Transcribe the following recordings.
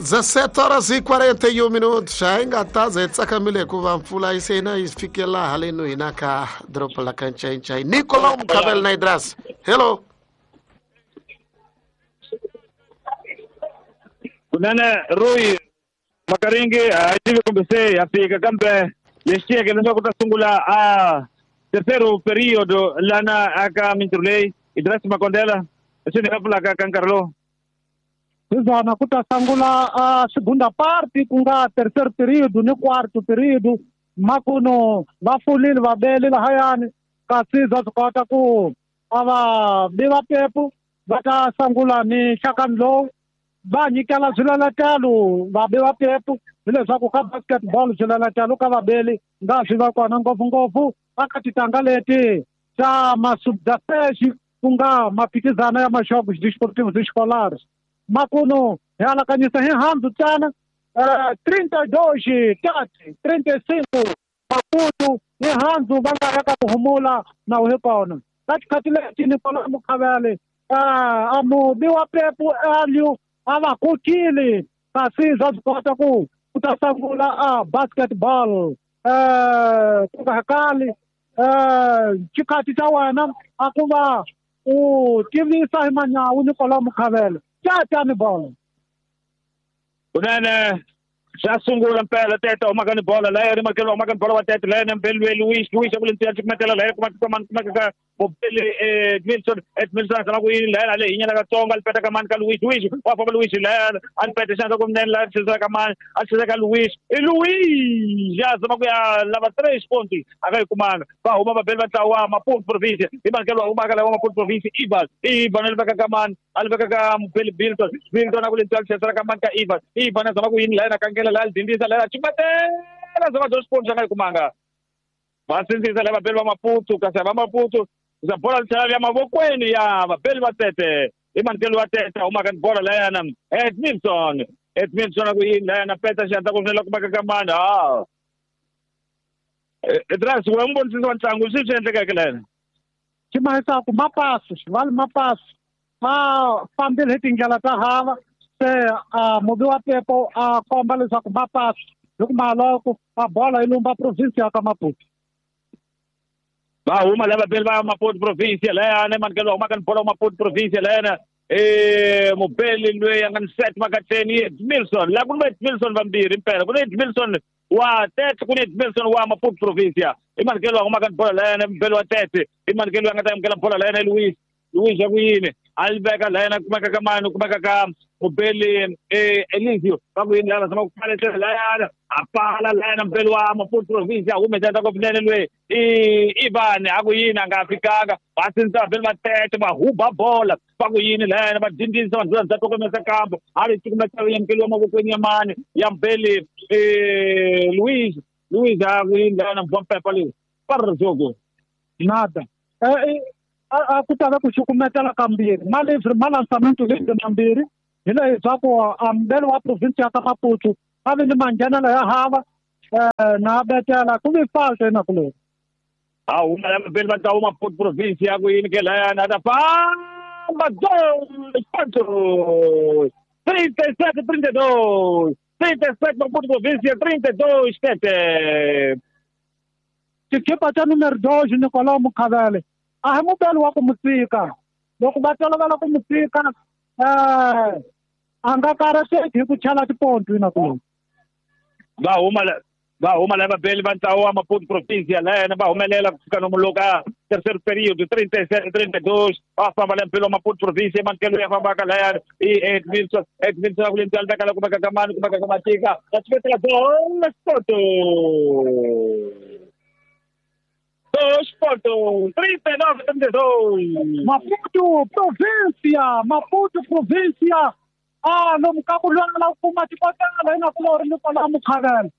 17 horas e 41 minutos. Hi nga ta za hi tsakamile hikuva mpfula yi se na yi fikela haleno hina ka doroba la ka Ncayincai. Nicolau Mukhabele na Idras. Hello. Kunene Rui Makaringi a hi tivi kumbe se ya fika kambe lexi tiyeke leswaku ta sungula a terceiro período lana aka mintirho leyi Idras Makondela leswi ni nga pfulaka ka nkarhi lowu. Hizona ku ta sungula a segunda parte ku nga terceiro período ni quarto período makuno va fulile va bele lahayani kasi bya swi kota ku a va bi va pepu va ta sungula ni nhlakani lowu va nyikela swilalatelo va bi va pepu hileswaku ka basketball swilalatelo ka vabeli nga swi va kona ngopfungopfu aka titanga leti ta masubdafeshi ku nga maphikizano ya maxopo desportivos escolares. Makuno hi alakanyisa hi handzu tsana 32 35 Maputo hi handzu va nga ya ka ku humula na wu hi kona ka tikhathi leti Nicolau Mukhavele a mubi wa pepu alio a va kokile kasi bya swi kota ku ta sungula a basketball ku nga kali xikhathi xa wena a ku va u tivisa hi manyawu Nicolau Mukhavele tani bolo. Kunene xa sungula mpela Tete humaka ni bola laya ri makelo humaka ni bola wa Tete laya nembelwe Luis Luis ku lentsiya cukumetela laya kuma kuma kuma ka Bobele Edmilson Edmilson a ku yini laya le hinyana ka Tsonga li peta ka mani ka Luis Luis wa famba Luis laya a ni peta xandla ku mnene laya tlhela ka mani a tlhela ka Luis i Luis ya zama ku ya lava 3 pontos a nga yi kumanga va huma vabeli va ntlawa wa Maputo province hi makelo wa humaka laya wa Maputo province Ivan Ivan a li veka ka mani a li veka ka Mubeli Bilton Bilton a ku lentsiya tlhela ka mani ka Ivan Ivan a zama ku yini laya na kangela laya dindisa laya cukumetela zama 2 pontos a nga yi kumanga va sindzisa laya vabeli va Maputo kasi va Maputo za bola tlhela ya mavokweni ya vabeli va Tete i mankelo wa Tete humaka ni bola layana Edmilson Edmilson a ku yini layana peta xandla ku rinela kumaka ka mani ha Idras we n'wi vonisisa wa ntlangu swi swi endlekeke layana xi mahisaku mapasi xivali mapasi va fambile hi tindlela ta hava se a mubi wa pepo a komba leswaku mapasi hi ku maloko a bola yi lumba province ya ka Maputo. Va huma lava vabeli va Maputo province layana mankelo humaka ni bola wa Maputo province layana mubeli loyi a nga ni set makatleni Edmilson la ku ni va Edmilson vambirhi mpela ku ni Edmilson wa Tete ku ni Edmilson wa Maputo province i mankelo humaka ni bola layana mubeli wa Tete i mankelo a nga ta amukela bola layana Luis Luis ya ku yini a li veka layana kumeka ka mani kumeka ka mubeli Elisio va ku yini lava zama ku pfaletela layana a pfala layana mubeli wa Maputo province a humesa ta ngopfu loyi Ivan a ku yini a nga fikanga va sindzisa vabeli va Tete va huba bola va ku yini layana va dindisa vanhu va tokomesa kambo a ri cukumetela yamukeliwa mavokweni ya mani ya mubeli Luis Luis a ku yini layana mvampepa leyi para jogo nada a ku ta va ku cukumetela kambirhi ma livre ma lançamento livre mambirhi hi leswaku a mubeli wa province ya ka Maputo a vi ni manghenelo ya hava na betela ku vi falta inakuleni. A huma la vabeli va ntlawa wa Maputo province ya ku yini ke layana a ta famba 2 pontos 37 32 37 Maputo province 32 Tete. Xikipa xa numero 2 Nicolau Mukhavele a hi mubeli wa ku mu tshika loko va tolovela ku mu tshika a nga karhateki hi ku chela tiponto inakuleni. Va huma lava vabeli va ntlawa wa Maputo province layana va humelela ku fika nomu ka terceiro período 37 32 va famba la mpilo wa Maputo province mankelo ya fambaka layana i Edmilson Edmilson a ku lentswala veka la kumeka ka mani kumeka ka Matika va cukumetela 2 pontos 2 pontos 39 32 Maputo província Maputo província a lomu ka ku lwela ku kuma tikotela inakulori Nicolau Mukhavele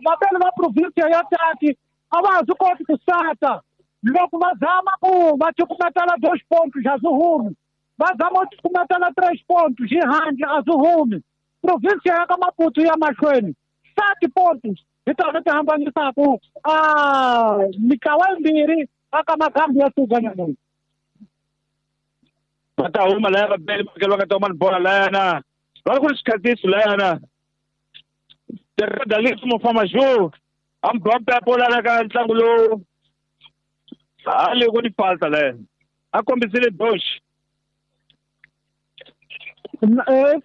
vabeli va province ya Tete a va ha swi koti ku sata loko va zama ku va cukumetela 2 pontos a swi humi va zama ku cukumetela 3 pontos hi handle a swi humi province ya ka Maputo ya mahlweni 7 pontos hi tona ti hambanisaka mitlawa yimbirhi aka magambi ya Suganyanoni. Va ta huma laya vabeli makelo va nga ta huma ni bola layana Va ku ri xikhatiso layana. Dalito Mofamaju ambapo lana ka ntlangu lowu a le ku ni falta layana. A kombisile dosh.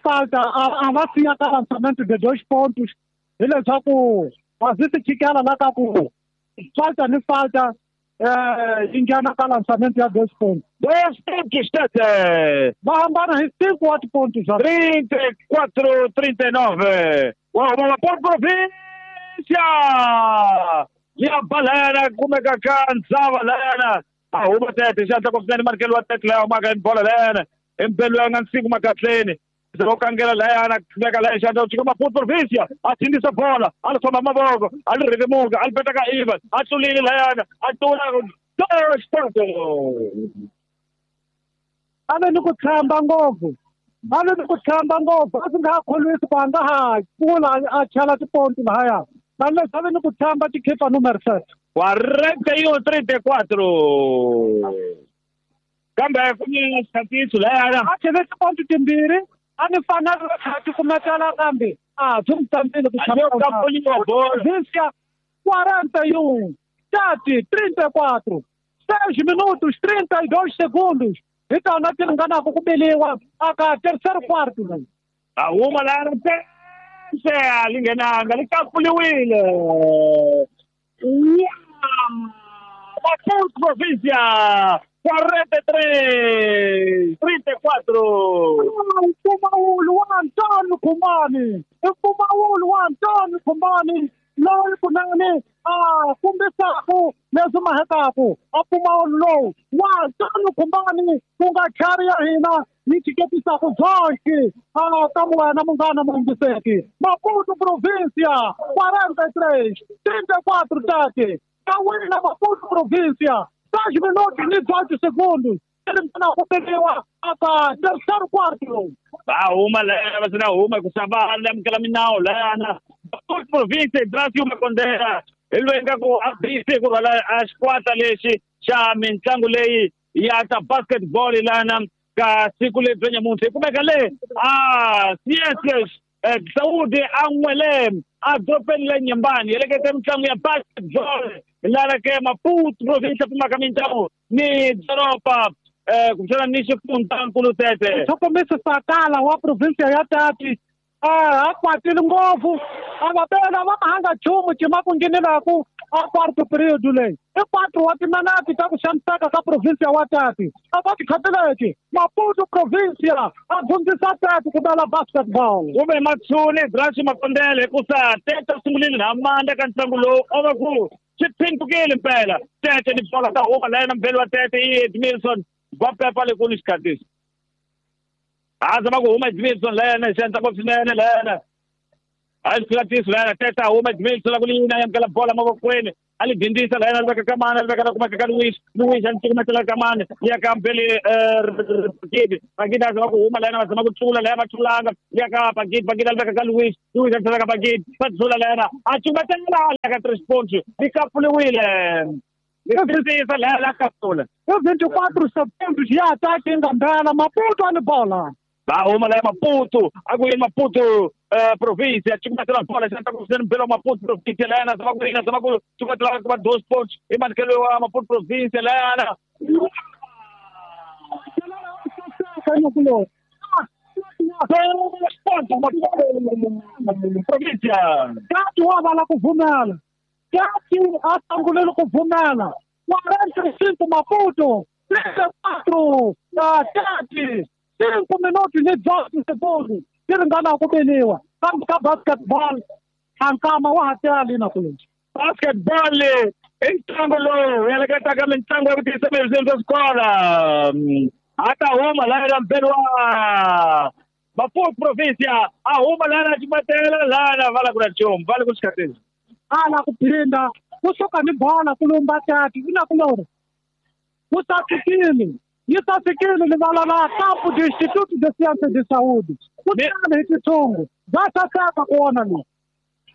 Falta a va siya ka lançamento de 2 pontos. Hileswaku a swi chikela la ka ku falta ni falta yi nghena ka lançamento ya 2 pontos. 2 pontos tete. Va hambana hi 5 wa tiponto swa 34-39. Wa huma Maputo Província. Ya balera kumeka ka ndzava layana. A huma tete xandla ku swinene markelo wa tete laya humaka hi bola layana. Embelwa nga nsiku makatleni. Zero kangela layana kumeka laya xandla chika Maputo Província. A thindisa bola, a li khoma mavoko, a li rhevemuka, a li peta ka Ivan, a tlulile layana, a tlula 2 pontos. A ve ni ku tshemba ngopfu. A ve ni ku tshemba ngopfu. A swi nga ha kholwisi ku a nga ha pfula a chela tiponto lahaya. Kambe leswi a ve ni ku tshemba tikhipa numero 7. 41-34. Kambe ku ni xikhatiso layana. A chele tiponto timbirhi. A ni fanele a ti kumetela kambe a byi n'wi tsandzile ku chela Província 41 30 34 6 minutos 32 segundos. Hi tona ti ringanaka ku beliwa aka terceiro quarto leyi. A huma layana se a li nghenanga li kapfuliwile. Maputo Província 43-34. Mpfumawulo wa Antônio Khumani. Mpfumawulo wa Antônio Khumani loyi kunene a kombisaku leswi mahetaku a mpfumawulo lowu wa Antônio Khumani ku nga chari ya hina yi chiketisaka dzonki a ka wena munghana muyingiseki. Maputo Província 43 34 tati ka wina Maputo Província 6 minutos e 18 segundos. Termina ku beliwa aka terceiro quarto. Va huma layana va sina huma ku xava amukela minawu layana. Maputo Província Brasil Makondela hi loyi nga ku a busy ku rhwala a xikwata lexi xa mitlangu leyi ya ta basketball lana ka siku leri bya nyamuntlha. Hi kumeka le a CS Saudi a n'wele a dorobeni la Nyembani helekete mitlangu ya basketball lana ke Maputo Província pfumaka mitlangu ni doroba kumbexana ni xifundzankulu tete. Tlhokomisi Sakala wa província ya Tati a kwatile ngopfu a va bela va nga nchumu cima ku nghenelaku a quarto period leyi. I 4 wa timinete ta ku xaniseka ka província wa Tati. A va tikhatileki Maputo Província a dyondzisa Tati ku bela basketball. Kumbe Matsuni Brashi Makondele hikusa Tete sungulile na Amanda ka ntlangu lowu a va ku swi phintukile mpela. Tete ni bola ta huma layana mbeli wa Tete i Edmilson va pepa le ku ni xikhatiso. A zama ku huma Edmilson layana xandla ngopfu swinene layana. A xikhatiso layana Tete a huma Edmilson ku lina yamukela bola mavokweni. A li dindisa layana li veka kamana li veka na kumeka ka Luis. Luis a ni cukumetela kamana ya ka mbeli Pagidi. Pagidi a zama ku huma layana va zama ku tlula laya va tlulanga ya ka Pagidi. Pagidi a li veka ka Luis. Luis a tlhela ka Pagidi. Va tlula layana a cukumetela ya ka 3 pontos. Li kapfuliwile. Li dindisa laya la kapfula. I 24 segundos ya ataque yi nga mbela Maputo a ni bola. Va huma laya Maputo a ku yini Maputo Província cukumetela bola xi ta ku swinene mbelo Maputo Província layana zama ku yina zama ku cukumetela ku 2 pontos i manikelo wa Maputo Província layana. Ponto Maputo Província. Tati wa vala ku pfumela. Tati a sungulile ku pfumela. 45 Maputo 34 Tati 5 minutos ni 18 segundos ti ringana ku beliwa kambe ka basketball nkama wa ha tele na ku basketball i ntlangu lowu heleketaka mitlangu ya ku tiyisa miri swa swikolo. A ta huma laya mbeli wa Maputo Província a huma lana xibatela lana va la ku na nchumu va le ku xikhatini. A la ku phinda kusuka ni bola ku lumba Tati i na ku lori ku sasekile yi sasekile livala la Campo do Instituto de Ciência de Saúde. Ku tele hi tithungu bya saseka ku vona lowu.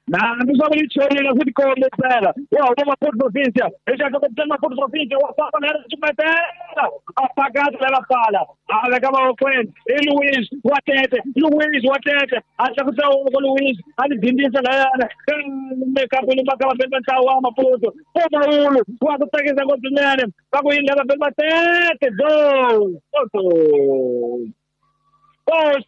Na ndiswa ku lichelela futhi kombe phela. Wa huma Maputo Provincia. Ixaka ku Maputo Provincia wa famba na ximetela. A phakathi lela pala. A veka mavokweni. I Luis wa Tete. Luis wa Tete. A tlakusa woko Luis. A li dindisa layana. Mekapu ni maka va ntlawa wa Maputo. Pfumawulo wa ku tsakisa ngopfu swinene. Va ku yini lava va Tete. Goal.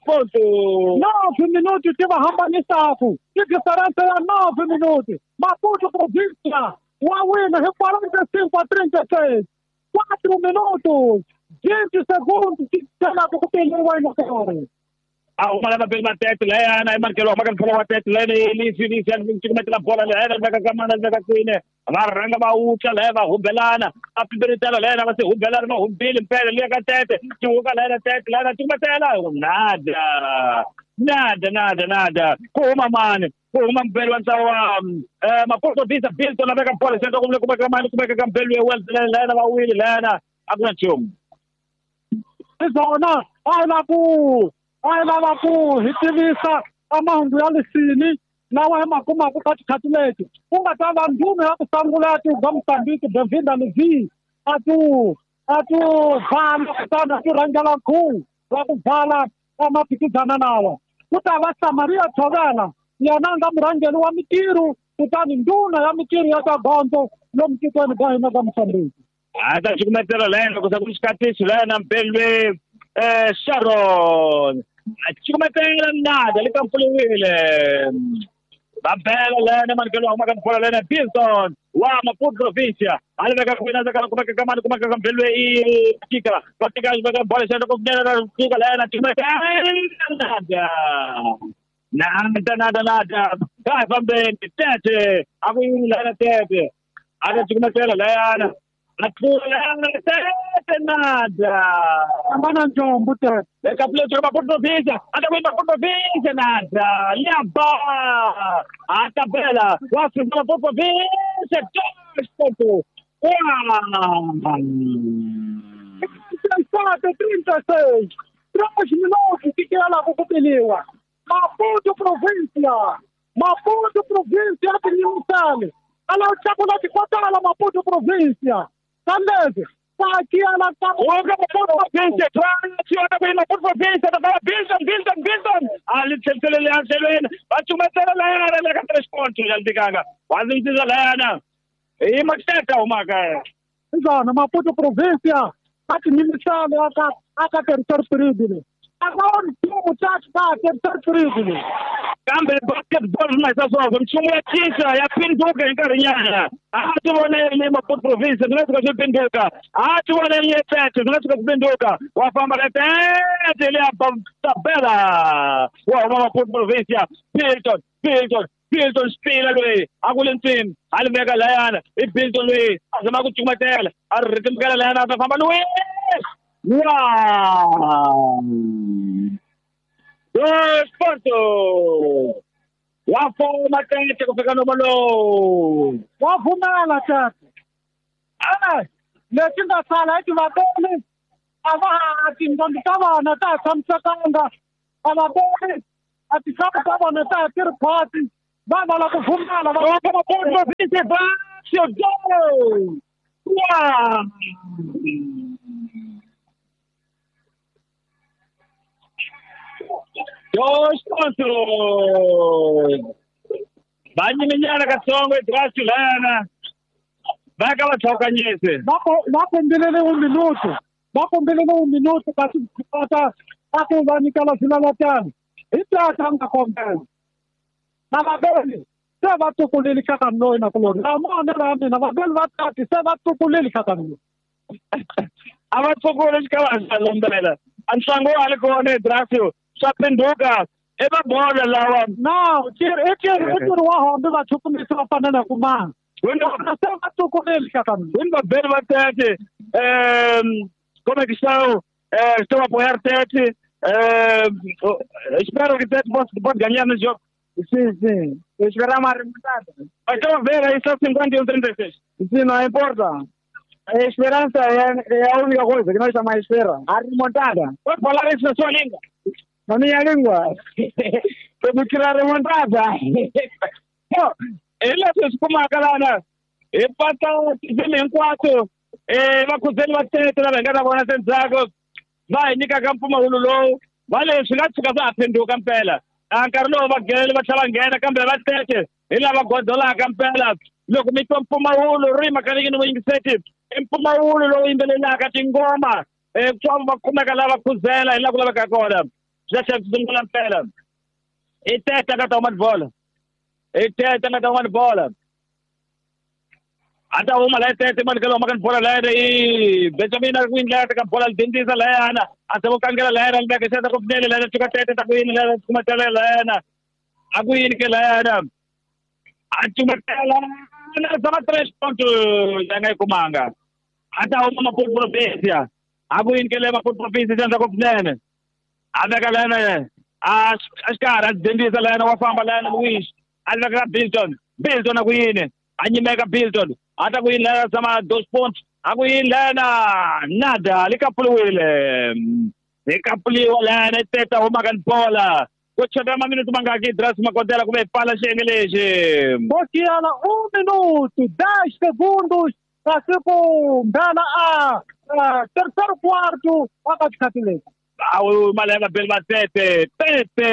Ponto. 9 minutos ti va hambanisaka. Ti diferença ya 9 minutos. Maputo Província wa wina hi 45-36. 4 minutos 20 segundos ti telaka ku peliwa inokerere. A huma lava beli matete layana i markelo maka mphola wa tete layana lisi lisi cukumetela bola layana veka ka mana veka kwini va rhanga va wutla laya va humbelana a pimbeletela layana va se humbelana va humbile mpela liya ka tete tihuka layana tete layana cukumetela nada nada nada nada ku huma mani ku huma mbeli wa ntlawa wa Maputo Visa Bilton a veka bola xendla kumbe kumeka mani kumeka ka mbeli ya Wells layana va wile layana a ku na nchumu. Hi swona a hi la ku a hi lava ku hi tivisa a mahungu ya lisini lawa hi ma kumaka ka tikhathi leti ku nga ta va ndhuma ya ku sungula ya tihuga Mozambique Benvinda Levi a tu vala kutani a ti rhangela nkhuvo wa ku vala a maphikizana lawa. Ku ta va Samaria Tshovela yena a nga murhangeri wa mitirho kutani ndhuna ya mitirho ya ta gondzo lomu tikweni bya hina bya Mozambique. A ta cukumetela layana loko se ku xikatisi layana mbelwe Sharon cukumetela nada le kampfuliwile va bela layana manikelo wa humaka bola layana Bilton wa Maputo Provincia a li veka kwina ka kumeka ka mani kumeka ka mbelwe i tika va tika veka bola xana ku nena tika layana cukumetela nada nada nada nada ka fambeni Tete a ku yini layana Tete a ta cukumetela layana Tete nada. Hambana njombo Tete. Eka play Maputo Provincia. Ata ku Maputo Provincia nada. Liamba. A tabela. Wa Maputo Provincia 2.1. 37-36. 3 minutos que ela kupeliwa. Maputo Provincia. Maputo Provincia tinyisale. Ala chakula tikwatala Maputo Provincia. Sandeze, aqui ela tá. Maputo Provincia, Maputo Provincia, Bilton, Bilton, Bilton. Ali tselele anselweni, bachumetela layana le ka 3 points ya ndikanga. Wazintiza layana. I makitata umaka. Izana Maputo Provincia, athi nimisale aka terceiro período. Agora o tatu tá terceiro período. Kambe basketball na sasa mchumu ya chincha ya pinduka nkarhinyana. A ti vona le Maputo Provincia swi nga tshuka swi pinduka. A ti vona le Tete swi nga tshuka swi pinduka. Wa famba ka Tete le tabela. Wa huma Maputo Provincia Bilton Bilton Bilton spila loyi a ku le ntsini a li veka layana i Bilton loyi a zama ku cukumetela a ri rhetemukela layana a ta famba loyi. Wow! 2 pontos. Wa foma Tete ku fika nomo lowu. Wa pfumela Tete. Lexi nga sala i ti vabeli a va ha tinqambi ta vona ta ha tshamisekanga. A va voni a tinhloko ta vona ta ha ti ri khwatsi. Va lava ku pfumela va Maputo Provincia goal. Wow! 2 pontos. Va nyiminyana katsongo edrasi lana. Va ka va tlhokanyise. Va kombelele 1 minuto. Va kombelele 1 minuto kasi kota a ku va nyikela swilalatana. Hi tata a nga kombela. Na vabeli se va tukulile hlakanoi na kuloni. La maonelo ya mina vabeli va tati se va tukulile hlakanoi. A va tukule xikava xa lombela. A ntlangu wa ha li kona edrasi. Swa pinduka i va bolo lawa. No, i tirhi wa hombe va chukumisa va fanele ku manga. Se va tukulile hlakanoi. Wini vabeli va Tete como é que estão? Estou a apoiar Tete. Espero que Tete pode ganhar no jogo. Sim, sim. Eu esperava uma remontada. Estão a ver aí só 51-36. Sim, não importa. A esperança é a única coisa que nós estamos à espera. A remontada. Pode falar isso na sua língua? Na minha língua. Temos que ir à remontada. Hi leswi hi swi kumaka lana hi pata tifilimi hinkwato vakhuzeli va tete lava hi nga ta vona se ndzhaku va hi nyikaka mpfumawulo lowu va leswi nga tshuka swa ha phenduka mpela a nkarhi lowu va gele va tlhela va nghena kambe va tete hi lava godolaka mpela loko mi twa mpfumawulo ri makanekini vuyingiseti i mpfumawulo lowu yimbelelaka tingoma ku va kumeka lava khuzela hi laha ku laveka kona swi ta tlhela swi sungula mpela i tete nga ta huma tibola i tete nga ta huma tibola a ta huma laha tete mani ka lowu maka bola layana i Benjamin a ku yini laya ka bola lidindisa layana a se vo kangela layana libeka xata ku pfunele layana tshuka tete ta ku yini layana tsukumatela layana a ku yini ke layana a tsumatela na zama tres ponto ya nga yi kumanga a ta huma Maputo province a ku yini ke le Maputo province xandla ku pfunene a veka layana a xikarhi a dindisa layana wa famba layana Luis a veka ka Bilton Bilton a ku yini a nyimeka Bilton a ta ku yini lana sama dos pontos a ku yini lana nada li kapuliwile hi kapuliwa lana teta humaka ni bola ku chota maminute mangaki Idras Makodela kumbe hi pfala xiyenge lexi Bokiala 1 minuto 10 segundos kasi ku nghena a terceiro quarto aka xikhathi lexi awu mali ya vabeli va tete tete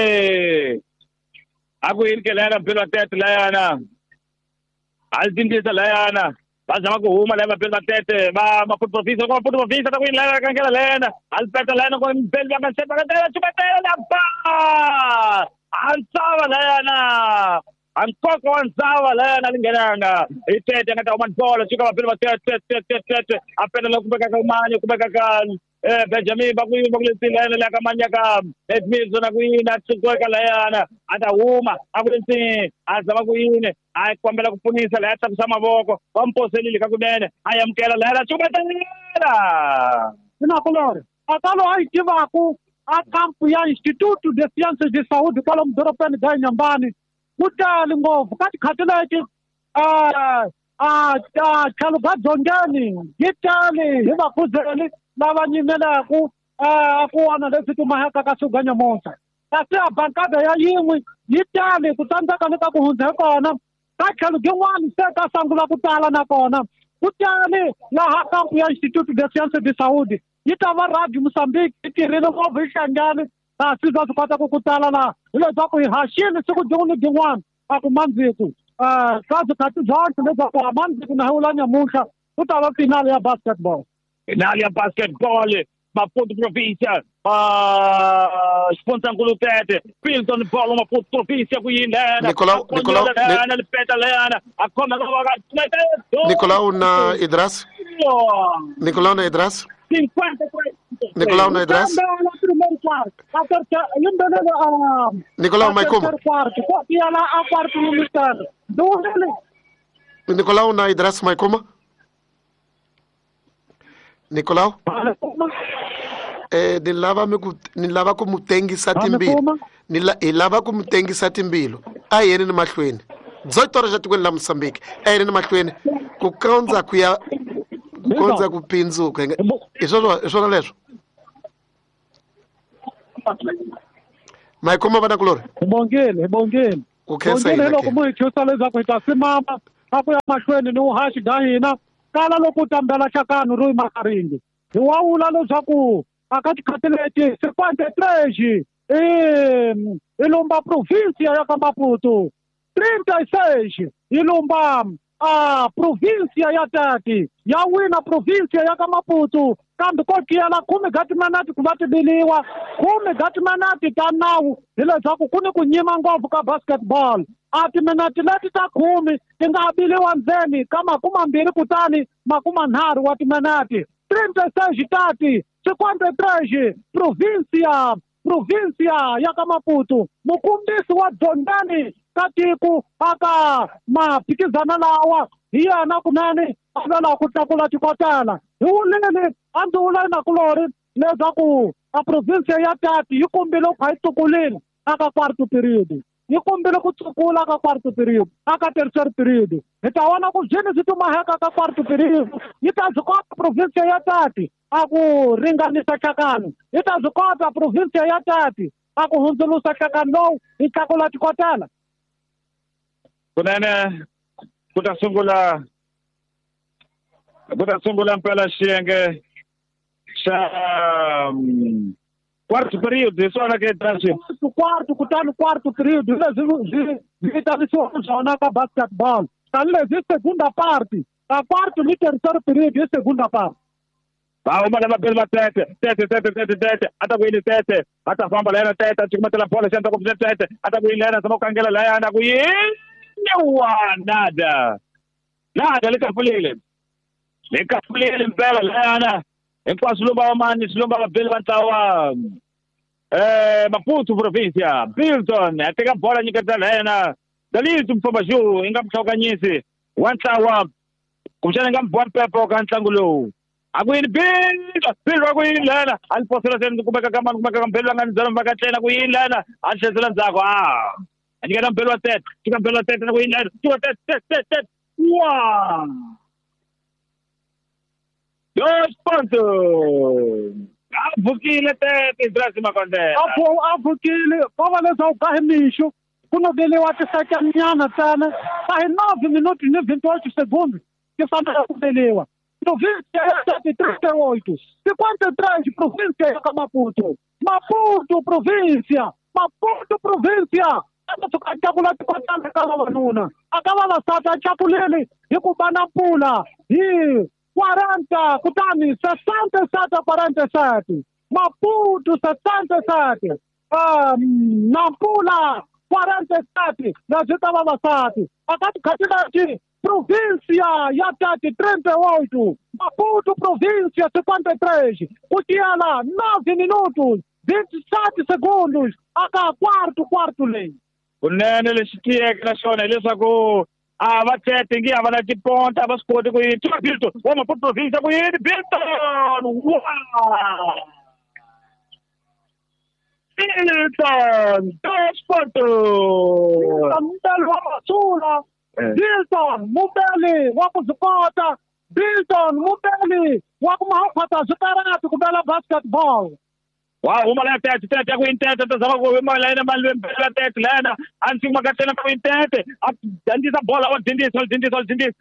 a ku yini ke layana beli va tete layana a li dindisa layana va zama ku huma laya vabeli va tete va Maputo province loko Maputo province ta ku yini layana kangela layana a li peta layana ku beli va nga se va nga tela la ba a ntsava layana a nkoka wa ntsava layana li nghenanga hi tete nga ta huma bolo suka vabeli va tete tete tete a peta la kumeka ka mani kumeka ka Benjamin va ku yini va ku letsini layana ka manyaka Edmilson a ku yini a tsukuka layana a ta huma a ku letsini a zama ku yini a kombela ku pfunisa laya tlakusa mavoko va mposelile ka kunene a amukela layana cukumetela Sinakulori akalo a yi tivaku a kampu ya Instituto de Ciências de Saúde kwalomu dorobeni bya Inhambane ku tali ngopfu ka tikhati leti tlhelo ka dzongeni yi tali hi vakhuzeli lava nyimelaku a ku wana leswi tumahaka ka suga nyamuntlha kasi a bankada ya yin'we yi tali ku tsandzeka ni ka ku hundza hi kona ka tlhelo byin'wana se ka sungula ku tala nakona ku tali laha kampu ya Instituto de Ciências de Saúde yi ta va Radio Mozambique yi tirhile ngopfu yi hlangane kasi bya swi kota ku ku tala laha hileswaku hi haxile siku byin'wana ni byin'wana a ku mandziku ka swikhathi byonke leswaku a mandziku na hi wula nyamuntlha ku ta va finale ya basketball. Finale ya basketball Maputo province xifundzankulu tete Bilton bolo Maputo province ku yini layana Nicolau lipeta layana a khoma Nicolau na Idras Nicolau na Idras 53 Nicolau na Idras Nicolau Maikuma Nicolau na Idras Maikuma Nicolau ni lava ku mu tengisa timbilu ni lava ku mu tengisa timbilu a yeni ni mahlweni 18 horas tikweni la Mozambique a yeni ni mahlweni ku kondza ku ya ku kondza ku pindzuka hi swona leswo Maikuma vana kulori hi bongile ku khensa hina loko mu hi chusa leswaku hi ta simama a ku ya mahlweni ni uhaxi bya hina kala loko u tambela xakano ro makaringi hi wa vula leswaku aka tikhathi leti 53 i lumba provinsia ya ka Maputo 36 i lumba a provinsia ya Tati ya wina provinsia ya ka Maputo kambe ko tiyela 10 ga timinete ku va tibiliwa 10 ga timinete ta nawu hileswaku ku ni ku nyima ngopfu ka basketball a timinete leti ta 10 ti nga biliwa ndzeni ka 20 kutani 30 wa timinete 36 Tati 53 provinsia ya ka Maputo mukumbisi wa dzongani ka tiko aka maphikizana lawa hi yena kunene a lwela ku tlakula tikotela hi wulile a ndzi wula nakulori leswaku a provinsia ya Tati yi kombile ku kha yi tsukulile aka quarto period yi kombile ku tsukula ka quarto period aka tertiary period hi ta vona ku byini swi tumaheka ka quarto period yi ta byi kota provinsia ya Tati a ku ringanisa hlakano yi ta byi kota provinsia ya Tati a ku hundzulusa hlakano lowu yi tlakula tikotela. Kunene ku ta sungula mpela xiyenge xa quarto period hi swona ke quarto kutani quarto period leswi swi vitanisiwaka swona ka basketball tanihileswi segunda parte ka quarto ni terceiro period hi segunda parte. Va huma lava beli va tete tete tete tete tete a ta ku yini tete a ta famba layana tete a cukumetela bolo xi endla ku tete a ta ku yini layana zama ku kangela layana ku yini wa nada nada le kafulile mpela layana hinkwaswo lomba va mani swi lomba vabeli va ntlawa Maputo provincia Bilton a teka bola nyiketa layana Dalito Mfambaju i nga muhlawukanyisi wa ntlawa kumbexana i nga muboha mpepo ka ntlangu lowu. A ku yini Bilton a ku yini lana a ni posela se ni kumeka ka mani kumeka ka mbhelo nga ni byela mhaka tlena ku yini lana a ni tlherisela ndzhaku a nyiketa mbhelo wa tete tika mbhelo wa tete na ku yini lana tika tete tete tete wa 2 pontos. A pfukile tete Idrisi Makondela. A pfukile ko va leswaku ka hi mixo ku noveliwa tisakanyana ntsena ka hi 9 minuti ni 28 segundos ti fanele ku veliwa. Província ya 38, 53 província ya Maputo. Maputo província, Maputo província. A tshuka a tlakula tikotana ka vavanuna. A ka vavasati a tlakulile hi ku va na mpfula hi 40 kutani 67 47. Maputo 67. Nampula 47 leswi ta vavasati. A ka tikhathi leti província ya 38, Maputo província 53, ku tiyela 9 minutos 27 segundos aka quarto leyi. Kunene lexi tiyeke na xona hileswaku a va tete ngi a va na tiponta a va swi koti ku yini tiva Bilton wa Maputo província ku yini Bilton wa Bilton 2 pontos. Mubeli wa Masula Bilton mubeli wa ku swi kota Bilton mubeli wa ku mahaphata swikarati ku bela basketball. Wa huma la tete tete ya ku yini tete ta zama ku huma la yena mali mbela tete lana a ndzi kuma ka tena ku yini tete a dandisa bola wa dindisa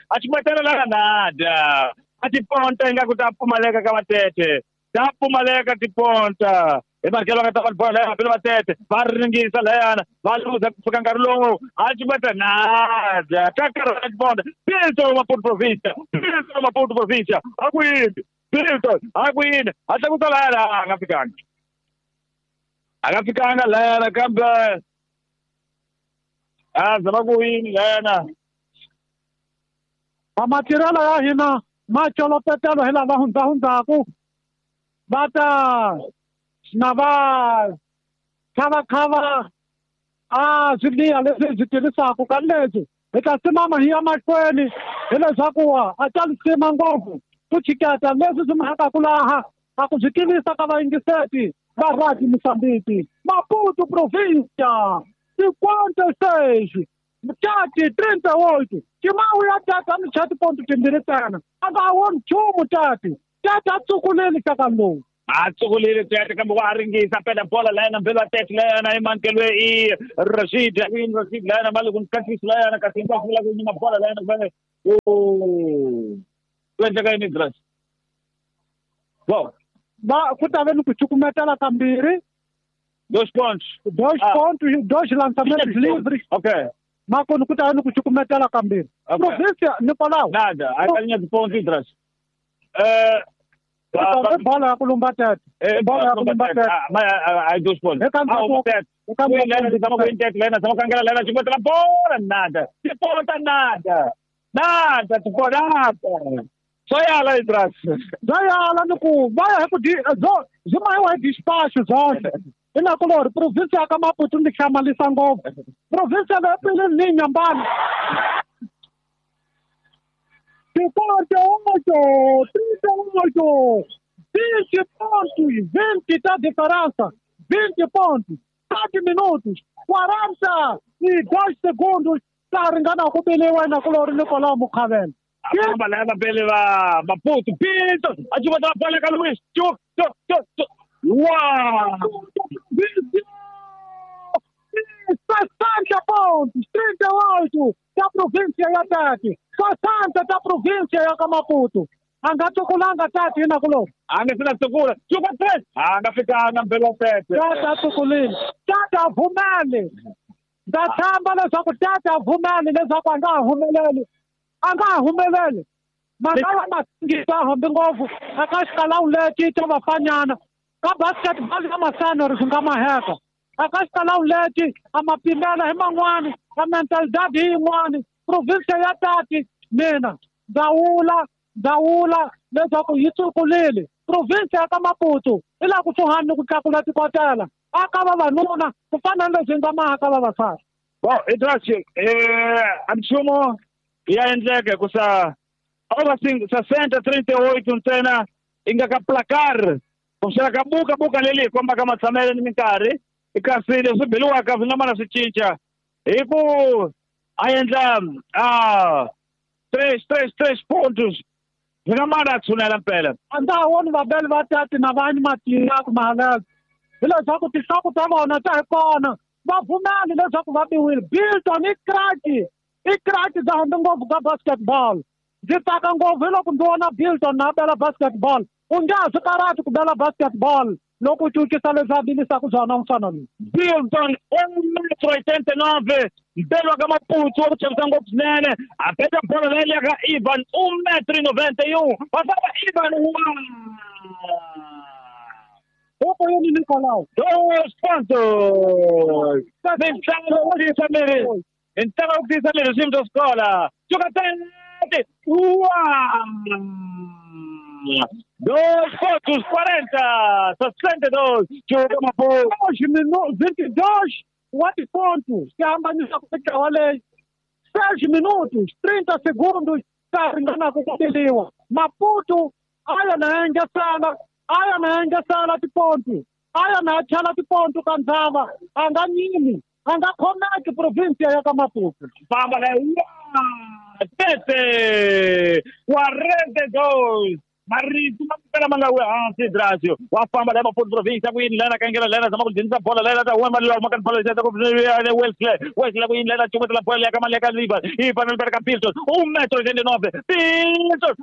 a chumatela la nada a tiponta ingaku ta pfumaleka ka vatete ta pfumaleka tiponta hi marikelo nga ta va bola ya va tete va ringisa layana va luza ku fika nkarhi lowu a chumata nada ta karhala tiponta Bilton Maputo província Bilton Maputo província a ku yini Bilton a ku yini a tlakusa layana a nga fikanga a nga fikanga layana kambe a zama ku yini layana. Matirhelo ya hina ma colopetelo hi lava hundzahundzaku va ta na va khavakhava a swiliya leswi hi swi tirhisaka ka leswi hi ta simama hi ya mahlweni hileswaku a ta lisima ngopfu ku chiketa leswi swi mhakaku laha a ku swi tivisa ka vayingiseti va Radio Moçambique. Maputo província 56 tati 38 Timawu ya tata a ni chati ponto timbirhi ntsena a nga woni nchumu tati tati a tsukuleli xaka lowu. A tsukulile tete kambe wa ringisa pela bola layana mbelo wa tete layana i mankelwe i Rashid i Rashid layana mali ku nkatlisi layana kasi hinkwaswo la ku nyima bola layana ku ku endleka yini Idris? Wow. Va ku ta ve ni ku cukumetela kambirhi 2 pontos 2 pontos 2 lançamentos livres. Okay. Makoni ku ta ve ni ku cukumetela kambirhi. Província Nicolau. Nada, a linha de ponto Idris. Bola ya ku lumba tete. Bola ya ku lumba tete. Ai 2 pontos. Tete zama kangela lena cukumetela bola nada. Tiponta nada. Nada, tiponta nada. Só yala Idris. Só yala ni ku va ya hi ku byi mahiwa hi despacho byonse. I na ku lori província ya ka Maputo ni hlamalisa ngopfu. Província leyi pele ni nyambana. 58, 38, 20 pontos, 20 tá diferença, 20 pontos, 7 minutos, 42 segundos, tá ringana ku beliwa na ku lori Nicolau Mukhavela. Famba laya vabeli va Maputo Bilton a cukumetela bola ka Luis chu chu chu wa 60 pontos, 38, ta província ya Tati, 60 ta província ya ka Maputo. A nga tsukulanga Tati hi nakuloni. A nga se na tsukula. Tsuka 3. A nga fikanga mbelo tete. Tati a tsukulile. Tati a vumeli. Ndza tshemba leswaku Tati a vumeli leswaku a nga ha humeleli. A nga ha humeleli. Mhaka ya masingita hambi ngopfu eka xikalawu lexi xa vafanyana ka basketball ya masanori swi nga maheka. Eka xikalawu lexi a ma pimela hi man'wani, a mentalidade hi yin'wani. Province ya Tati mina ndza wula leswaku yi tsukulile. Province ya ka Maputo i laha kusuhani ni ku tlakula tikotela aka vavanuna ku fana ni leswi nga maha ka vavasati. Bon, Idrasi, a nchumu ya endleka ku sa ova 68 ntsena i nga ka placard kumbexana ka buka leli hi kombaka matshamelo ni minkarhi, kasi leswi beliwaka swi nga mana swi cinca hi ku a endla 3 pontos swi nga mana a tshunela mpela. A ndza ha voni vabeli va Tati na vanyi matiyaku mahalelo hileswaku tinhloko ta vona ta hi kona va pfumeli leswaku va biwile. Bilton i kraki bya hambi ngopfu ka basketball. Ndzi tsaka ngopfu hi loko ndzi vona Bilton na bela basketball. U nge ha swi karhati ku bela basketball loko u cincisa leswi a bilisaka swona mfana loyi. Bilton 1,89 m mbelo wa ka Maputo wa ku chavisa ngopfu swinene. A beta bolo leyi ya ka Ivan 1,91 m. Va famba Ivan Huku yini Nicolau? 2 pontos. Mintlangu wo tiyisa miri. Ntlangu wo tiyisa miri swiyimo swa xikola. Suka 30. 2 pontos 40, 62. Chuka Maputo. 22 wa tiponto ti hambanisa ku mitlawa leyi. 6 minutos 30 segundos ta ringanaka ku biliwa. Maputo a ya na engesela, a ya na engesela tiponto, a ya na chela tiponto ka ndzava, a nga nyimi, a nga khomeki province ya ka Maputo. Famba la 7 42. Marito ma mpela ma nga wi hansi Drasio. Wa famba la Maputo province ku yini lana kangela lana zama ku dzinisa bola lana ta huma mali ma kan bola ta ku Wesley ku yini lana chumetela bola ya ka mali ya ka Ivan. Ivan al ka Pilton 1,89 m. Pilton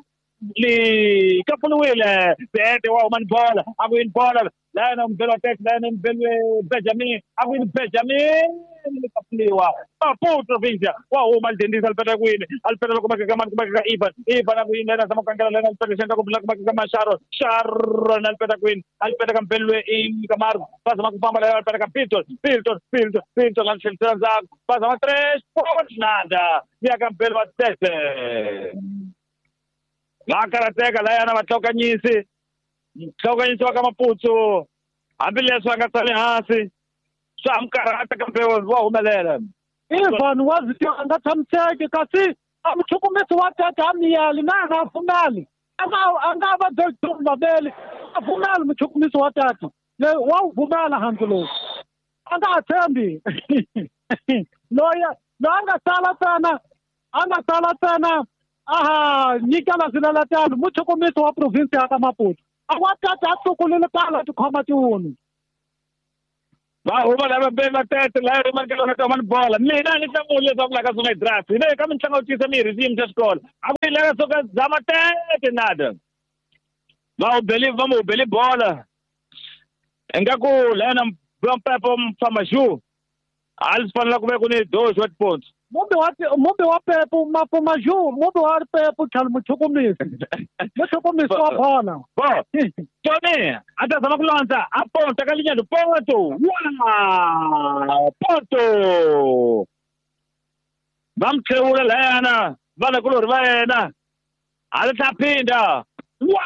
li kapuluwile. Tete wa huma ni bola. A ku yini bola lana mbelo tete lana mbelo Benjamin. A ku yini Benjamin likapuliwa. Maputo province wa huma lidendisa alipeta kwini alipeta loko makaka mani kumaka Ivan. Ivan a ku yini lana zama kangela lana alipeta xenda ku kumaka ka Sharon. Sharon alipeta kwini alipeta ka mbelo i Camargo. Va zama ku famba lana alipeta ka Pilton. Pilton la tlhelisela ndzhaku. Va zama 3 pontos nada. Ya ka mbelo wa Tete. Va karateka layana va tlokanyisi. Tlokanyisi wa ka Maputo hambileswi a nga tsali hansi swa ha karhata kambe wa humelela. Ivan wa swi tiva a nga tshamiseki kasi a muchukumisi wa Tati a miyeli na a nga pfumeli. A nga va byeli vabeli a pfumeli muchukumisi wa Tati leyi wa wu pfumela hansi lowu. A nga ha tshembi. Loyi a nga sala ntsena a ha nyikela swileletelo muchukumisi wa province ya ka Maputo. A wa Tati a tsukulile tala tikhoma tiwunu. Va huma lava va Tete la ri mankela ka mani bola. Mina ni hlamula leswaku la ka swona draft. Hi le ka mintlangu yo tiyisa miri xiyimo xa xikolo. A ku yi lava soka zama Tete nada. Va mu beli bola. Ingaku lena Mpepo Mfamaju. A li fanela ku ve ku ni 2 wa tiponto. Mumbi wa Pepo Mafumaju, mumbi wa Pepo tlhelo muchukumisi. Muchukumisi wa bola. Bo. Tony, a ta zama ku landza a ponta ka linyalo ponto. Wa ponto. Va mi tlhewula layana vanakulorhi va yena. A li ta phinda. Wa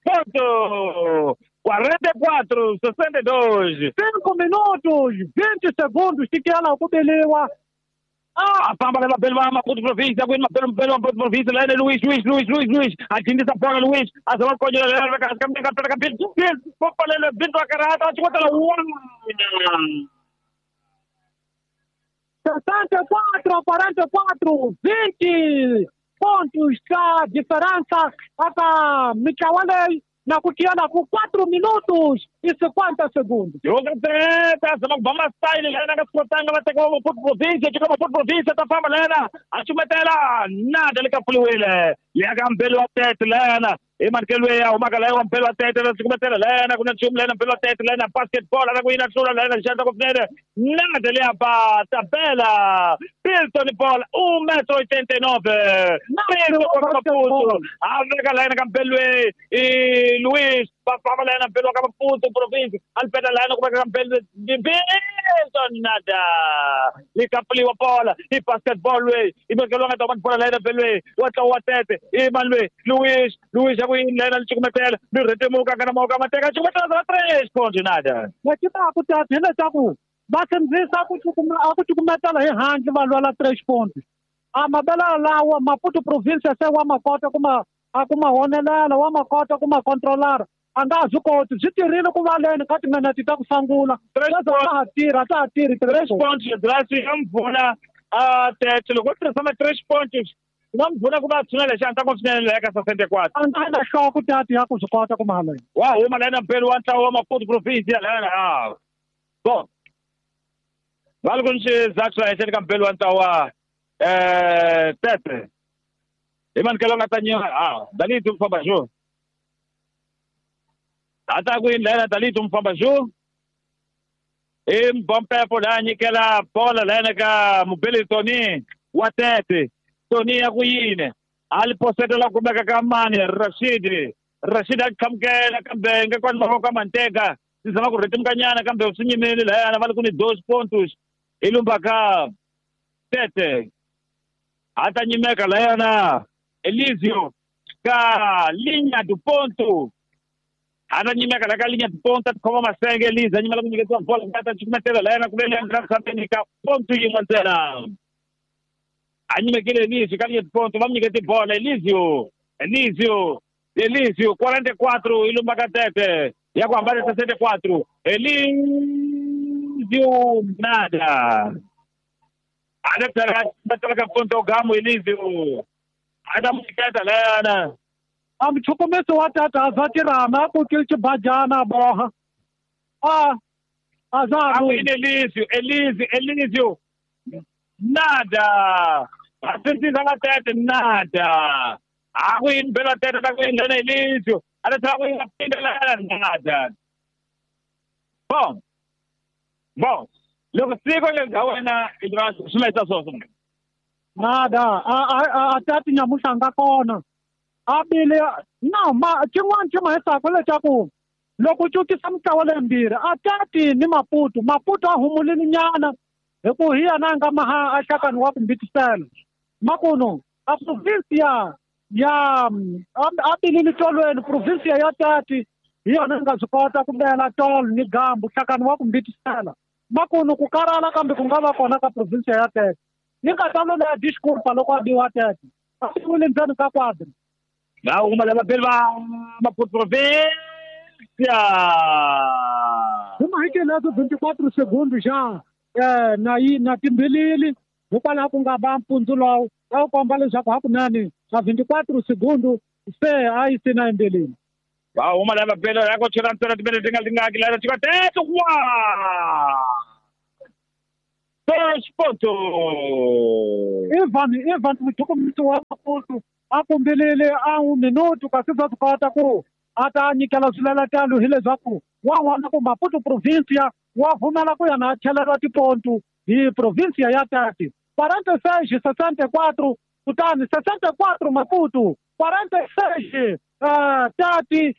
ponto. 44, 62. 5 minutos, 20 segundos, tikela ku beliwa. A famba leva belo va Maputo província, ku belo belo Maputo província, lá Luiz, Luiz. A dindisa bola Luiz, a zama konyo leva ka ka ka ka Bilton, popalele Bilton karata, a chukotela 64, 44, 20 pontos a diferença aka mitlawa leyi Na ku tiyela ku 4 minutos e 50 segundos. Joga treta, zama ku ba masitayili lena nga swi kotanga va teka Maputo province, teka Maputo province ta famba lena, a cumetela nada le ka pfuliwile. Ya ka Mbelu wa Tete lena, i manikelo ya humaka laha wa Mbelu wa Tete la cumetela lena, ku na nchumu lena Mbelu wa Tete lena, basketball ana ku yina hlula lena xandla ku swinene. Nada le ba tabela. Pilton ball 1,89 m. Maputo a veka lena ka Mbelu i Luis va lena Mbelu wa ka Maputo province alipeta lena ku veka ka Mbelu Pilton nada. Li kapfuliwa bola i basketball loyi i vekeliwa nga ta va bola lena Mbelu wa tlawa wa Tete i mani loyi Luis Luis ya ku yini lena li cukumetela li rhetemuka nga na mavoko a mateka cukumetela za 3 point nada. Lexi ta ku tata hileswaku va sindzisa ku a ku cukumetela hi handle va lwela 3 point. A mabela lawa Maputo province se wa ma kota ku ma a ku ma honelela wa ma kota ku ma controlara. A nga ha swi koti swi tirhile ku valeni ka timinete ta ku sungula. Sweswo a ha tirhi a ta ha tirhi 3 points lebyi ya mpfuna a Tete loko u tirhisa ma 3 points swi nga mi pfuna ku va tshunela xandla ku swinene la ka 64. A nga na hloko tati ya ku swi kota ku mahala. Wa huma lena Mbelu wa ntlawa wa Maputo province ya lena a. Bon. Va loko ni xizathu la henhla ka Mbelu wa ntlawa Tete. Hi manikelo nga ta nyiwa a Dalito mfamba jo. Ata ku yini lena Dalito mfamba jo. I Mbompepo la nyikela bola lena ka Mubeli Tony wa Tete. Tony ya ku yini a li posetela kumeka ka mani Rashid. Rashid a qhamukela kambe nga kwani mavoko ka Mantega. Swi zama ku rhetemukanyana kambe swi nyimile lahayana va li ku ni 2 pontos i lumba ka Tete. A ta nyimeka lahayana Elizio ka linha do ponto. A ta nyimeka la ka linha do ponto a tikhoma masenge Elizio a nyimela ku nyiketiwa bola ku ta cukumetela lahayana ku ve leyi sambeni ka ponto yin'we ntsena. A nyimekile Elizio ka linha do ponto va mu nyikete bola Elizio. Elizio Elizio 44 i lumba ka Tete ya ku hambana 64 Elizio nada. A ta ka ponto gamo Elizio. A ta mu nyiketa lana. A muchukumisi wa tata a za tirhama a kukile xibajana a boha. A a za A ku yini Elizio Elizio Elizio nada. A sindzisa nga Tete nada. A ku yini Mbelu wa Tete ta ku yini lena Elizio a ta tlhela ku yini pinda lana nada. Bon. Bon. Loko siku leri bya wena i swi laisa swona. Nada a tati nyamuhla nga kona. A bile na ma xin'wana xi ma hisaka leswaku loko u cukisa mitlawa leyimbirhi a tati ni Maputo. Maputo a humulile nyana hi ku hi yena a nga maha a hlakani wa ku mbitisela. Makuno a province ya a bilile tolweni province ya Tati hi yona yi nga swi kota ku bela tolo ni gambu hlakani wa ku mbitisela. Makuno ku karhala kambe ku nga va kona ka province ya Tete. Yi nga ta loloha disculpa loko a biwa Tete. A biwile ndzeni ka quadra. Va huma lava Mbelu va Maputo province. Hi mahikele 24 segundos já na yi na timbilili hikwalaho ku nga va mpundzu lowu a wu komba leswaku hakunene a 24 segundos se a yi sina embilini. Va huma lava Mbelu ya ku chela ntsena timinete ti nga tingaki lana chika Tete wa. 2 ponto. Ivan muchukumisi wa Maputo a kumbilile a 1 minuto kasi bya swi kota ku a ta nyikela swileletelo hileswaku wa vona ku Maputo province wa pfumela ku yena a cheleriwa tipontu hi province ya Tete. 46 64 kutani 64 Maputo 46 Tete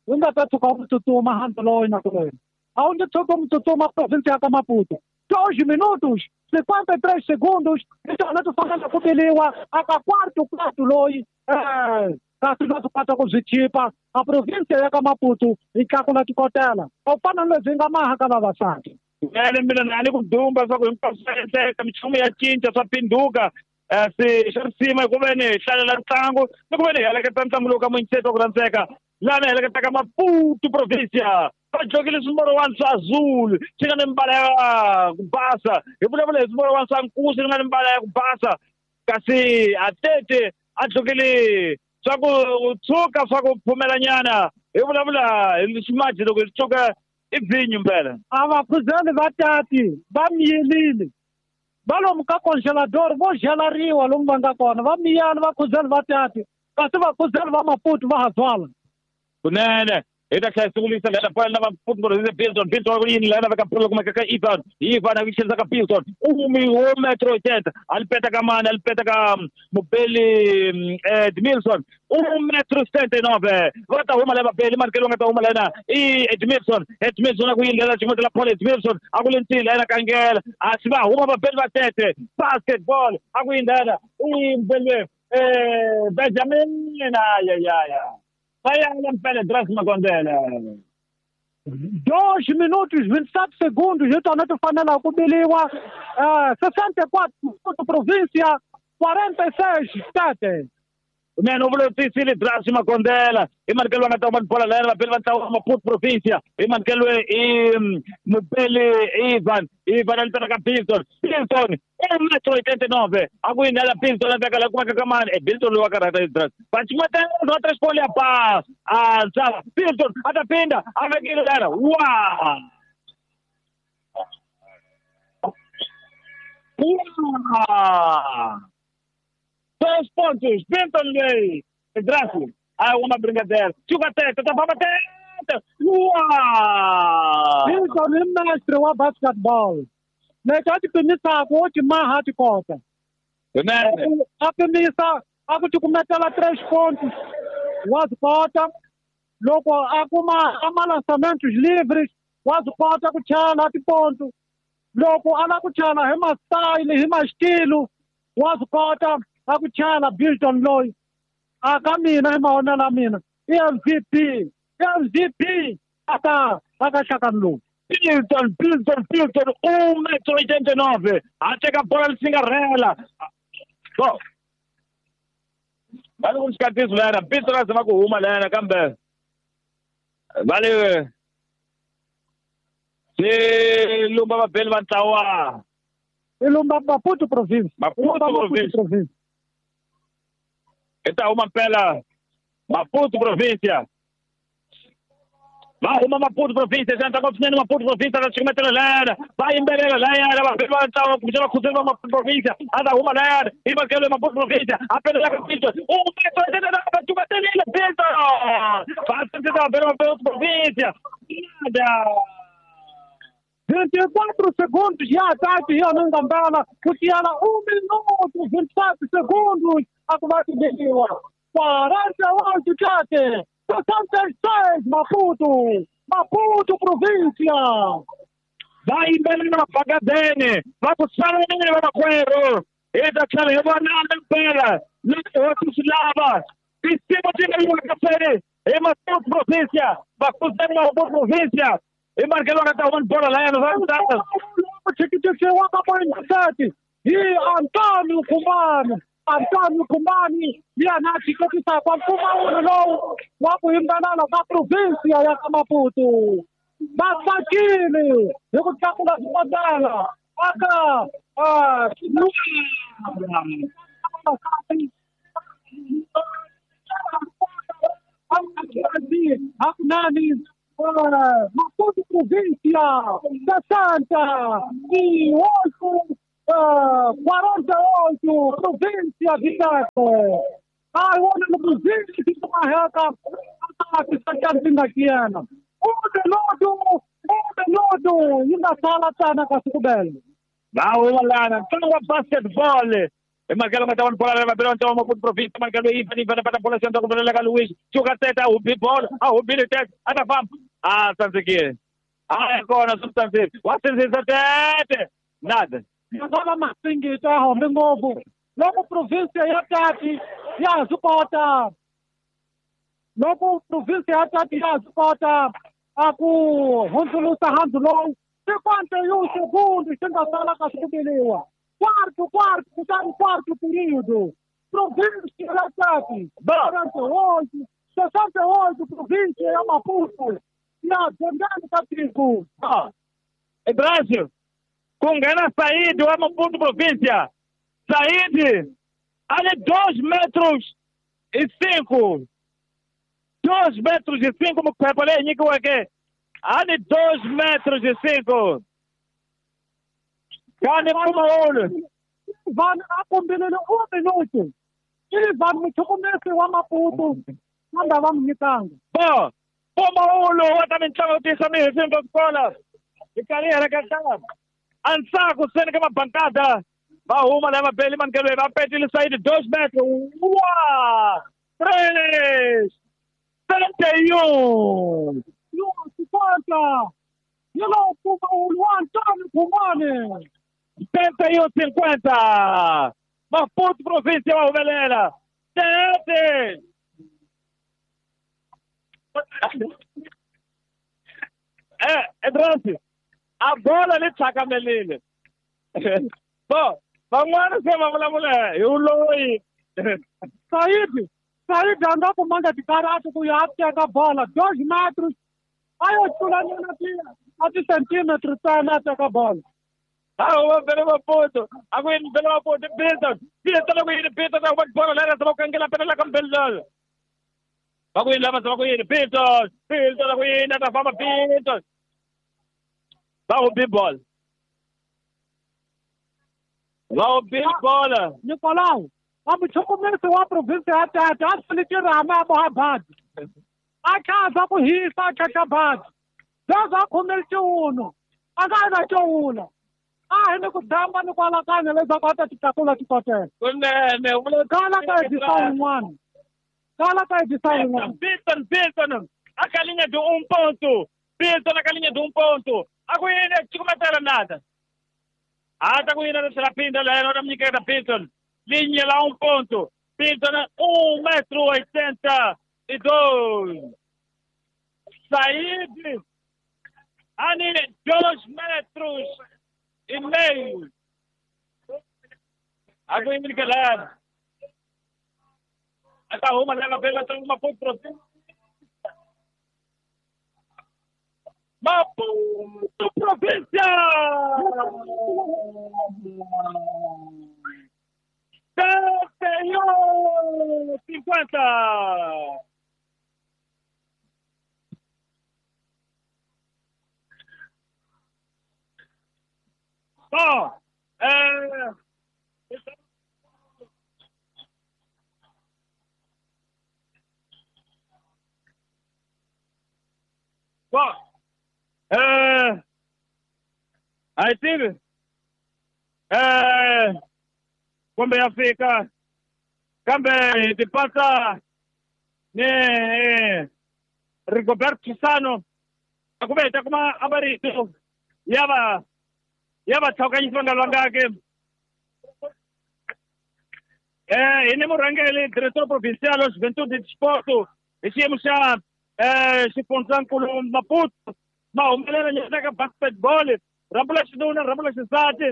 u nga ta tshuka u tsutsuma handle loyi na ku wena. A wu nge tshuki u tsutsuma province ya ka Maputo. 2 minutos 53 segundos hi tona ti fanele ku biliwa aka quarto quarto loyi kasi va swi kota ku swi chipa a province ya ka Maputo yi tlakula tikotela. A wu fana na lebyi nga maha ka vavasati. Vele mina na ni ku dumba swa ku hinkwaswo swa endleka minchumu ya cinca swa phinduka se xa risima hi ku ve ni hi hlalela ntlangu ni ku ve ni hi heleketa ntlangu lowu ka muyingiseti wa ku rhandzeka laha ni heleketaka Maputo province va dlokile swimorowani swa azul swi nga ni mbala ya ku basa hi vulavula hi swimorowani swa nkuzi swi nga ni mbala ya ku basa kasi a Tete a dlokile Swa ku tshuka swa ku pfumelanyana hi vulavula hi ximaji loko hi tshuka i vhinyo mpela. A va khuzeli va tati va miyelile va lomu ka congelador vo gelariwa lomu va nga kona va miyana va khuzeli va tati kasi va khuzeli va Maputo va ha byala. Kunene hi ta tlhela sungulisa lena bola na Maputo province Bilton Bilton ku yini lena veka bola kumeka ka Ivan Ivan a ku xenisa ka Bilton umi wo metro 80 a li peta ka mani a li peta ka Mubeli Edmilson 1,79 m va ta huma leva Beli Markelo nga ta huma lena i Edmilson Edmilson a ku yini lena xin'wana la Paul Edmilson a ku le ntini lena kangela a swi va huma va Beli va tete basketball a ku yini lena i Mubeli Benjamin ayayaya va mpela Dras Makondele 2 minutos 27 segundos hi tona ti fanela ku biliwa 64 Maputo província 46 Tete. Kunene u vula tisile Dras Makondela hi manikelo va nga ta huma bola lena vapeli va ntlawa wa Maputo província hi manikelo i Mubeli Ivan Ivan a litana ka Bilton Bilton 1,89 m a ku yini la Bilton a veka la kumeka ka mani e Bilton loyi wa karhata i Dras va cin'wetela va tres pole ya pa a ntsava Bilton a ta pinda a vekile lena wa wa 2 pontos Bilton leyi Dras a uma brincadeira chuka teta ta famba teta wa Bilton i mestre wa basketball lexi a ti pimisaka wo ti maha ti kota a pimisa a ku tikumetela 3 pontos wa swi kota loko a kuma a malançamentos livres wa swi kota ku chela tiponto loko a lava ku chela hi ma-style hi ma-xitilo wa swi kota a ku chela Bilton loyi a ka mina hi mavonelo ya mina i MVP MVP aka aka nhlakani lowu. Bilton Bilton Bilton 1,89 m a teka bola lisingarela so va le ku xikatiso lena Bilton a zama ku huma lena kambe va le swi lumba vabeli va ntlawa i lumba Maputo province Maputo province i ta huma mpela Maputo província va huma Maputo província xana ntlangu swinene Maputo província ta xikimetela lena va yimbelela layana vabeli va ntlawa kumbe va khuzeli va Maputo província a ta huma layana hi makelo ya Maputo província a pelela ka Bilton va cukumetelile Bilton va sindzisa vabeli va Maputo província nada 24 segundos ya ataque hi yona ngambala ku tiyela 1 minuto 27 segundos a ku va tibeliwa 48 Tete 66 Maputo Maputo província va yimbelela mabakadene va ku salanini va makwerhu hi ta tlhela hi vonana mpela leswi hosi swi lava tinsimu ti nga yiwa kaseni hi Maputo província vakhuzeni Maputo província hi marikelo va nga ta huma ni bola layana va xikixiwa ka point 30 hi Antonio Kumbani Antonio Kumbani hi yena a xiketisaka mpfumawulo lowu wa ku yimbelela ka província ya ka Maputo va tsakile hi ku tlakula swikotela aka hakunani Maputo província 68 48 província de Tete. Ai wona no província de Marreca a 1 minuto yi nga sala tsana ka sikubele. Va huma lana ntlangu wa basketball hi makelo nga ta vona bola va bela ntlangu wa Maputo province makelo Ivan Ivan pata bola xandla ku velela ka Luis chuka teta a hubi bola a hubile tete a ta famba a tsandzekile a ya kona swi tsandzekile wa sindzisa tete nada ya nga va masingita ya hombe ngopfu loko província ya Tati ya ha swi kota loko província ya Tati ya ha swi kota a ku hundzulusa handzu lowu 51 segundos xi nga sala ka swi quarto quarto kutani quarto período província ya Tati 48 68 província ya Maputo ya dzongani ka tiko. Brasil ku nghena Said wa Maputo província Said a le 2 metros e 5. 2 metros e 5 mukhwepa leyi nyikiweke a ni 2 metros e 5. Kani mpfumawulo. Vanhu a kombelele 1 minuto. Ivan muchukumesi wa Maputo kambe va mu nyikanga. Bo, mpfumawulo wa ta mitlangu yo tiyisa mihefembo xikola. Hi karhi hi heleketa. Ansaku seni ka mabankada. Va huma lava beli mankelwe va petile sayidi 2 metros. 1 3 71. Yo 50. Yelo mpfumawulo wa Antônio Kumane. 71-50. Maputo província wa humelela. Tete. Edransi, a bola li tlhakamelile. Bo, van'wana se va vulavula hi uloyi. Saidi a nga kumanga tikarati ku ya teka bola 2 metros. A yo tlulanyana a ti-centimetri ntsena a teka bola. Awu bele Maputo, a ku yini bele Maputo, Bilton, Bilton ku yini Bilton, a ku bola lera va kangela pele la ka Bilton. Va ku yini lava va ku yini Bilton, Bilton ku yini ta famba Bilton. Va ku big ball. Va ku big ball. Nicolau, a muchukumesi wa province ya Tete a fanekele rama a boha badi. A khaza ku hisa a khaxa badi. Sweswi a khomele xiwuno, a nga na xiwuna. A hi ni ku damba ni ku alakanya leswaku a ta ti tlakula ti kotela. Kunene, kala ka edisa wun'wana. Kala ka edisa wun'wana. Bilton, Bilton, a ka linha de 1 ponto. Bilton a ka linha de 1 ponto. A ku yini cukumetela nada. A ta ku yini na tlhela phinda la yena u ta mi nyiketa Bilton. Linha la 1 ponto. Bilton 1,82 m. Said ani 2 metros e meio. A ku yini ke la. A ta huma leva pela Maputo província. Maputo província. 71-50. Bom, bom, aí tive, kumbe ya fika, kambe hi tipatsa ni Rigoberto Chisano, a ku ve hi ta kuma a marito ya va ya vatlhokanyisi va nga lwangaki. Hi ni murhangeri director provincial wa Juventude Desporto hi xiyimo xa xifundzankulu Maputo ma humelela nyana ka basketball rhambu la xinuna rhambu la xisati.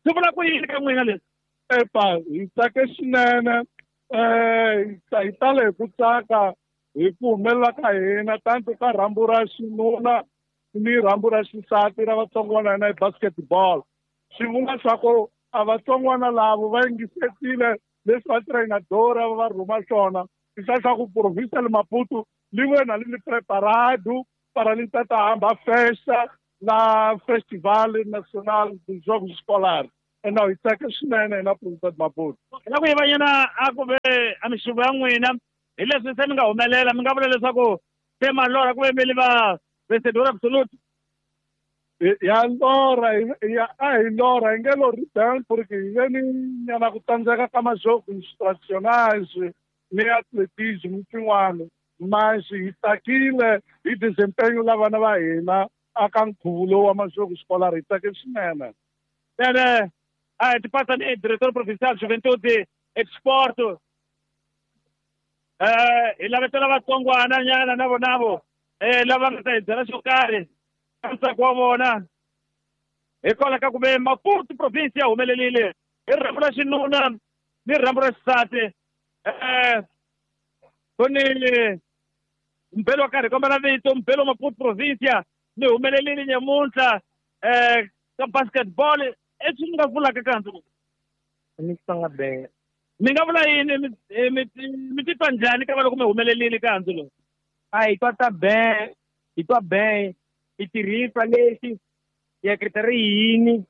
Swi vula ku yini ka n'wina leswi? Epa, hi tsake swinene, hi tale hi ku tsaka hi ku humelela ka hina tanto ka rhambu ra xinuna ni rhambu ra xisati ra vatsongwana hina hi basketball. Swi vula swa ku a vatsongwana lavo va yingisetile leswi va treinadora va rhuma swona. I swa ku província le Maputo li wena li preparado para li tata hamba festa na Festival Nacional dos Jogos Escolares. Ena hi tsake swinene hina província de Maputo. La ku yivanyana a ku ve a mixuvo ya n'wina hi leswi se mi nga humelela mi nga vula leswaku se malora ku ve mi li va vencedor absoluto. Ya lora ya a hi lora hi nge lori bem porque hi ve ni nyana ku tsandzeka ka majogos tradicionais ni atletismo swin'wana. Mas hi tsakile hi desempenho la vana va hina aka nkhuvo lowu wa majogos escolar hi tsake swinene. Ene a hi tipatsa ni director provincial Juventude Exporto. Hi lavetela vatsongwana nyana na vonavo lava nga ta hi byela xo karhi ka ntsako wa vona hikwalaho ka ku ve Maputo province ya humelelile hi rhambu ra xinuna ni rhambu ra xisati. Ku ni mbelo wa karhi kombela vito mbelo wa Maputo provincia ni humelelile nyamuntlha ka basketball eswi ni nga vulaka kanti ni Xitsonga be Mi nga vula yini mi titwa njhani ka va loko mi humelelile ka handzu lowu? A hi twa ta ben, hi twa ben, hi tirhisa lexi hi ehleketa ri yini,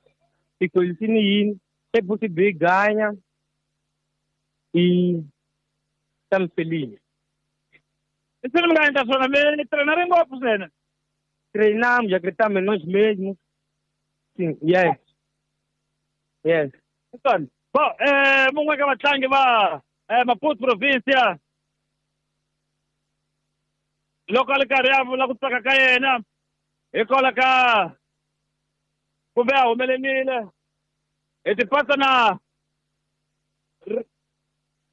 hi golisini yini, se futhi bi ganya i estamos felizes. I swilo mi nga endla swona mi trainare ngopfu swena. Treinamos, acreditamos em nós mesmos. Sim, yes. Yes. Bom, mungwe ka vatlangi va Maputo provincia loko a ri karhi a vula ku tsaka ka yena hikwalaho ka kumbe a humelerile hi tipasa na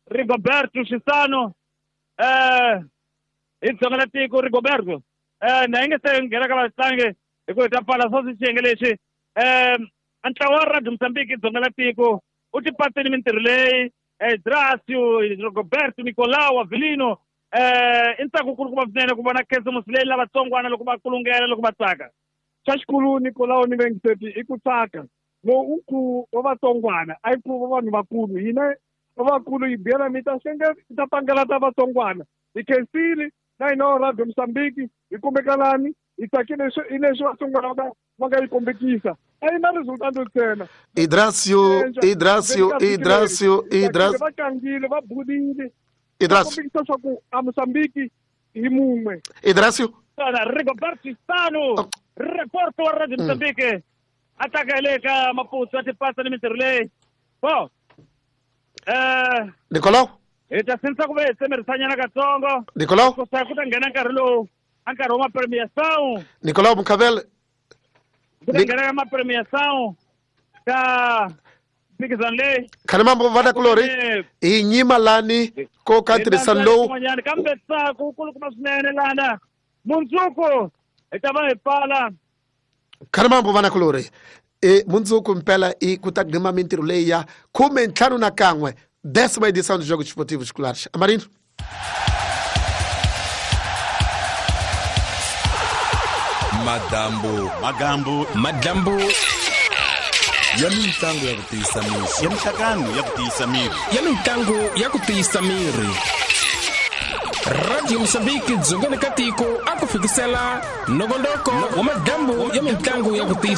Rigoberto Xisano hi dzonga la tiko Rigoberto na yi nge se nghena ka vatlangi hi ku hi ta pfala swo xiyenge lexi ntlawa wa Radio Mozambique dzonga la tiko u tipasini mintirho leyi Dracio Rigoberto Nicolau Avelino i ntsako kulukumba swinene ku vona khisimusi leyi lavatsongwana loko va kulungela loko va tsaka. Xa xikulu Nicolau ni Vengiseti i ku tsaka lowu u ku wa vatsongwana a yi ku va vanhu vakulu hina va vakulu hi biyela mi ta xenge mi ta pangela ta vatsongwana hi khensile na hina Radio Mozambique hi kumbekalani hi tsakile hi leswi vatsongwana va nga yi kombekisa a yi na resultado ntsena. Idracio Idracio Idracio Idracio va tlangile va bulile Idracio kombekisa swa ku a Mozambique hi mun'we. Idracio Rigoberto Xisano reporto wa Radio Mozambique a tsaka hi le ka Maputo a tipasa ni mintirho leyi. Bo Nicolau hi ta sindzisa ku ve hi tsemerisanyana katsongo Nicolau ku ta nghena nkarhi lowu a nkarhi wa mapremiação Nicolau Munkavele ku ta nghena ka mapremiação ka mphikizano leyi. Khalimambo vana kulori hi nyima lani ko ka ntirhisano lowu kambe ntsako wu kulukumba swinene lana mundzuku hi ta va hi pfala. Khalimambo vana kulori mundzuku mpela i ku ta gqima mintirho leyi ya 51 décima edição dos Jogos Esportivos Escolares. Amarino. Madambu magambu madlambu ya mintlangu ya ku tiyisa miri ya minhlangano ya ku tiyisa miri ya mintlangu ya ku tiyisa miri. Radio Mozambique dzongeni ka tiko a ku fikisela nongonoko wa madlambu ya mintlangu ya ku tiyisa